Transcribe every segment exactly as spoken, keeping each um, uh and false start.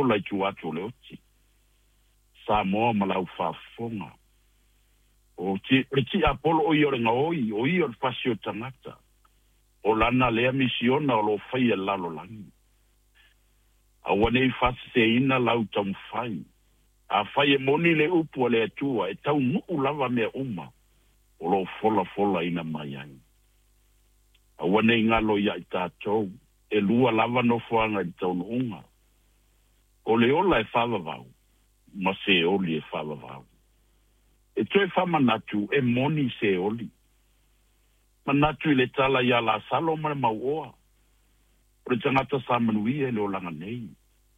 ola i tua atu o le oti. Samoa ma lau faafofoga. O ti, le tiapolo o ia o le gaoi, o ia o le fasi o tagata. O lana lea misiona o lo faia i le lalolagi. Aua nei faaseseina lau taumafai. Afai e moni le upu a le Atua, e taunuu lava mea uma o lo o folafolaina mai ai. Aua nei galo ia i tatou, e lua lava nofoaga i le taunuuga. O le ola e faavavau, ma Seoli e faavavau. E toe faamanatu e moni Seoli. Manatu i le tala ia Lasalo ma le mauoa. O le tagata sa manuia i le olaga nei.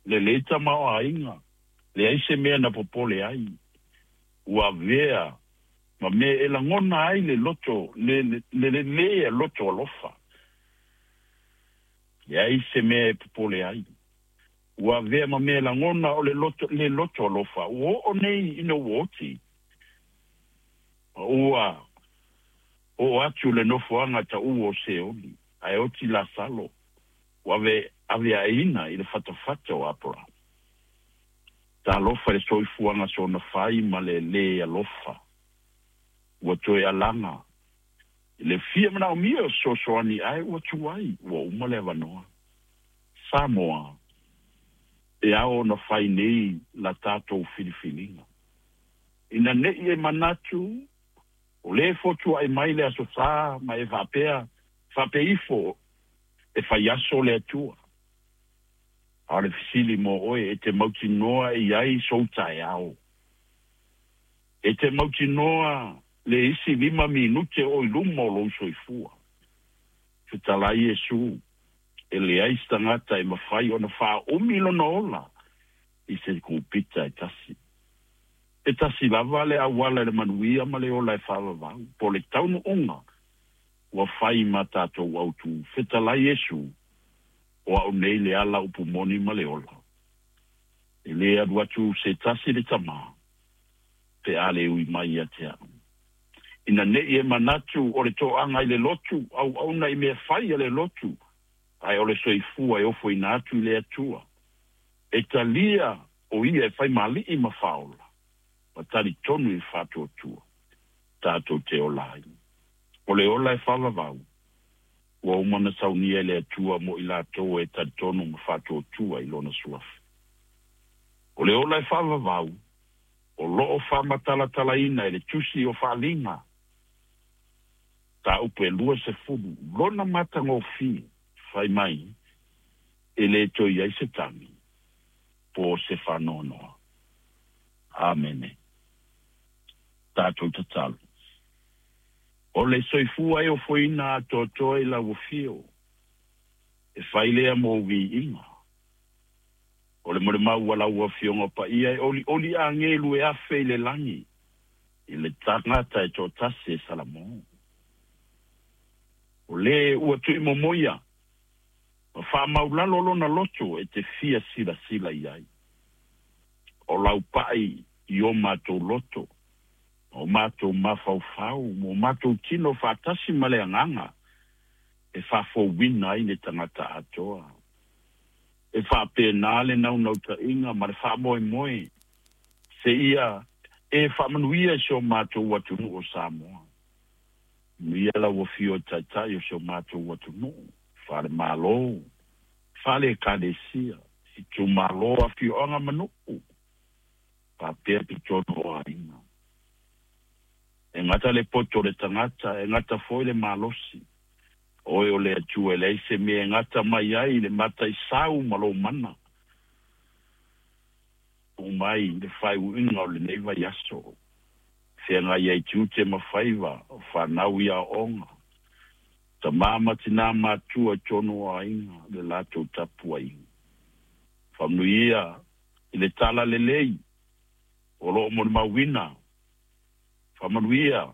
Lelei tamaoaiga, leai se mea na popole ai. Ua avea ma mea e lagona ai le loto, le, le, le, le loto alofa. Leai se mea e popole ai. Ua avea ma mea e lagona o le loto, le loto alofa. Ua oo nei ina ua oti. Ua oo atu le nofoaga taua o Seoli, ae oti Lasalo. Ua ave, aveaina i le fatafata o Aperahama. Talofa i le soifuaga soona fai ma le lē alofa. Ua toe alaga i le fia manaomia o fesoasoani ae ua tuai, ua uma le avanoa. Samoa, e ao ona fai nei la tatou filifiliga. Ina nei e manatu, o lē fotuaʻi mai le aso Sa ma e faapea, faapea ifo e faiaso le Atua. A o le fesili mo oe, e te mautinoa e i ai sou taeao? E te mautinoa le isi lima minute o i luma o lou soifua? Fetalai Iesu, e leai se tagata e mafai ona faaumi lona ola i se kupita e tasi. E tasi lava le auala i le manuia ma le ola e faavavau, po o le taunuuga ua fai ma tatou autu. Fetalai Iesu, o au nei le ala upu moni ma le ola. E lē alu atu se tasi i le Tamā, pe a le ui mai ia te au. Ina nei e manatu o le toaga i le lotu, auauna i mea fai a le lotu, ae o le soifua e ofoina atu i le Atua. E talia o ia e fai ma Alii ma Faaola, ma talitonu i le faatuatua, tatou te ola ai. O le ola e faavavau, ua uma ona saunia e le Atua mo i latou e talitonu ma faatuatua i lona suafa. O le ola e faavavau, o loo faamatalatalaina e le Tusi o Faaaliga, mataupu e luasefulu, lona matagofie, fai mai, e lē toe i ai se tagi, po o se faanoanoa. Amene. Tatou tatalo. O le soifua e ofoina atoatoa i lau afio, e fai lea mo viiga. O le molimau a lau Afioga Paia e olioli agelu e afe i le lagi, i le tagata e toatasi e Salamo. O le ua tuuimomoia, ma faamaulalo lona loto e te fia silasila i ai. O lau pai i o matou loto, ma o matou mafaufau, ma o matou tino faatasi ma le agaga, e faafouina ai le tagata atoa. E faapena le naunautaiga ma le faamoemoe, seia e faamanuia i si o matou atunuu o Samoa. Manuia lau afio i taitai o si o matou atunuu, faale-Malo, faale-Ekalesia, itumalo, afioaga ma nuu, faapea totonu o aiga. E gata le poto o le tagata, e gata foi le malosi. Oe o le Atua e leai se mea e gata mai ai le mataisau ma lou mana. Tuu mai le faaiuina o lenei vaiaso, feagai ai tiute ma faiva o fanau i aoaoga, tamā ma tinā matutua i totonu o aiga le latou tapuaiga. Faamanuia i le talalelei o lo o molimauina. Faamanuia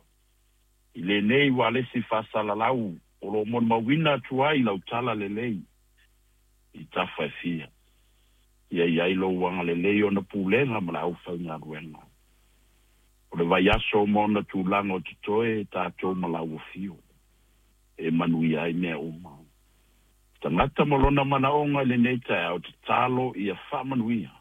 i lenei ualesi faasalalau o lo o molimauina atu ai lau talalelei i tafa e fia. Ia i ai lou agalelei ona pulega ma le aufaigaluega. O le vaiaso ma ona tulaga o totoe tatou ma lau afio, e manuia ai mea uma. Tagata ma lona manaoga i lenei taeao, tatalo ia faamanuia.